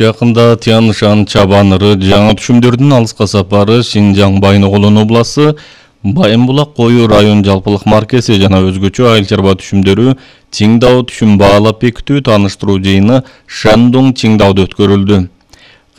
Жакында Тянь-Шань чабаныры жаңы түшүмдөрдүн алыска сапары Шинжаң Байногулун обласы Байымбулак кою район жалпылык маркеси жана өзгөчө айыл чарба түшүмдөрү Циндао түшүм баалап бекитүү тааныштыруу жыйыны Шандун Циндаодо өткөрүлдү.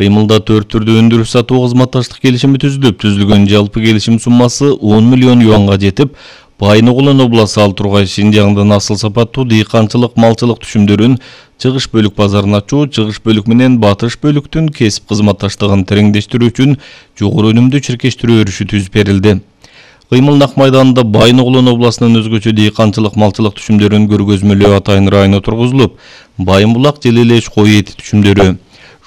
Кыймылда 4 түрдүү өндүрүш сатуу кызматташтык келишими түзүлгөн жалпы келишим суммасы 10 миллион юанга жетип, Байногулун обласы ал тургай Шинжаңдын асыл сапаттуу дыйканчылык малчылык түшүмдөрүн чыгыш бөлүк базарын ачуу, чыгыш бөлүк менен батыш бөлүктүн кесип кызматташтыгын тереңдештирүү үчүн жогору өнүмдүү чиркештирүү өрүшү түзүп берилди. Кыймыл Нак майданында Байногулун обласынын өзгөчө дыйканчылык малчылык түшүмдөрүн көргөзмөлөө атайын району тургузулуп, Байымбулак Желелеш кой эти түшүмдөрү,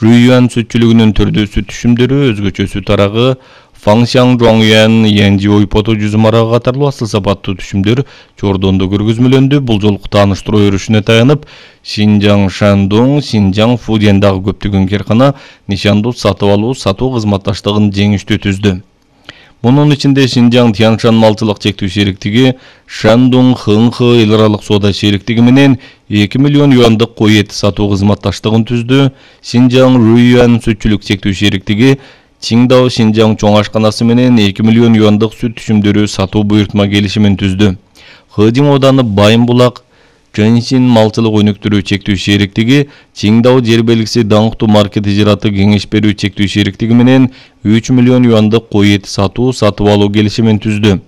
Жуйюан сүтчүлүгүнүн түрдүү сүт түшүмдөрү, өзгөчө сүт арагы, Фаңшаң Жуаңюан, Янжи ойпоту жүзүм арагы катарлуу асыл сапаттуу түшүмдөр Чордондо көргөзмөлөндү. Бул жолку тааныштыруу өрүшүнө таянып, Шинжаң Шандун, Шинжаң Фудияндагы көптөгөн каркана нишандуу сатып алуу, сатуу кызматташтыгын жеңиштүү түздү. Мунун ичинде Шинжаң Тянь-Шань малчылык чектүү шериктиги, Шандун Хыңхы эл аралык соода шериктиги менен 2 миллион юандык кой эти сатуу кызматташтыгын түздү. Шинжаң Жуйюан сүтчүлүк чектүү шериктиги Циндао Шинжаң чоң ашканасы менен 2 миллион юандык сүт түшүмдөрү сатуу буйртма келишимин түздү. Хэдин ооданы Байымбулак Чэньсин малчылык өнүктүрүү чектүү шериктиги Циндао жер белгиси даңктуу маркет ижараты кеңеш берүү чектүү шериктиги менен 3 миллион юандык кой эти сатып алуу келишимин түздү.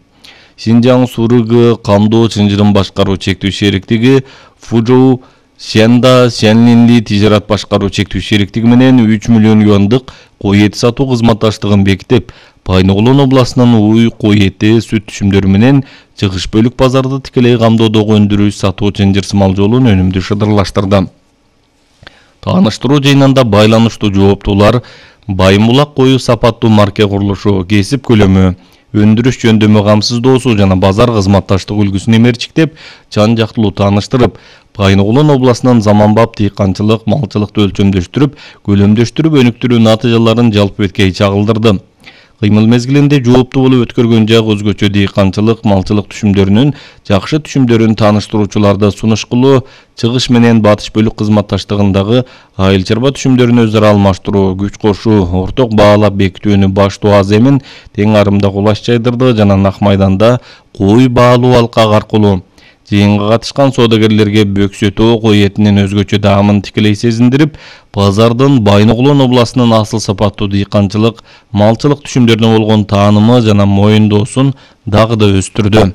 Шинжаң Сурыгы камдоо чынжырын башкаруу чектүү шериктиги Фужоу Сянда Сянлинли тижарат башкаруу чектүү шериктиги менен 3 миллион юандык кой эти сатуу кызматташтыгын бекитип, Байногулун обласынын уй кой эти сүт түшүмдөрү менен чыгыш бөлүк базарды тикелей камдоодогу өндүрүү сатуу чынжырсымал жолун өнүмдүү шыдырлаштырды. Тааныштыруу жыйынында байланыштуу жооптуулар Байымбулак кою сапаттуу марке курулушу, кесип көлөмү, өндүрүш жөндөмү камсыздоосу жана базар кызматташтык үлгүсүн эмерчиктеп, жан жактылуу тааныштырып, Байногулун обласынын заманбап дыйканчылык, малчылыкты өлчөмдөштүрүп, көлөмдөштүрүп өнүктүрүү натыйжаларын жалпы беткей чагылдырды. Кыймыл мезгилинде жооптуу болуп өткөргөн жак өзгөчө дыйканчылык, малчылык түшүмдөрүнүн жакшы түшүмдөрүн тааныштыруучуларды сунуш кылуу, чыгыш менен батыш бөлүк кызматташтыгындагы айыл чарба түшүмдөрүн өзара алмаштыруу, күч кошуу, орток баалап бекитүүнү баштоо аз эмин тең арымда кулаш жайдырды жана Нак майданда кой баалуу алкак аркылуу жыйынга катышкан соодагерлерге бөксөтөө кой этинин өзгөчө даамын тикелей сезиндирип, базардын Байногулун обласынын асыл сапаттуу дыйканчылык, малчылык түшүмдөрүнө болгон таанымы жана моюндоосун дагы да өстүрдү.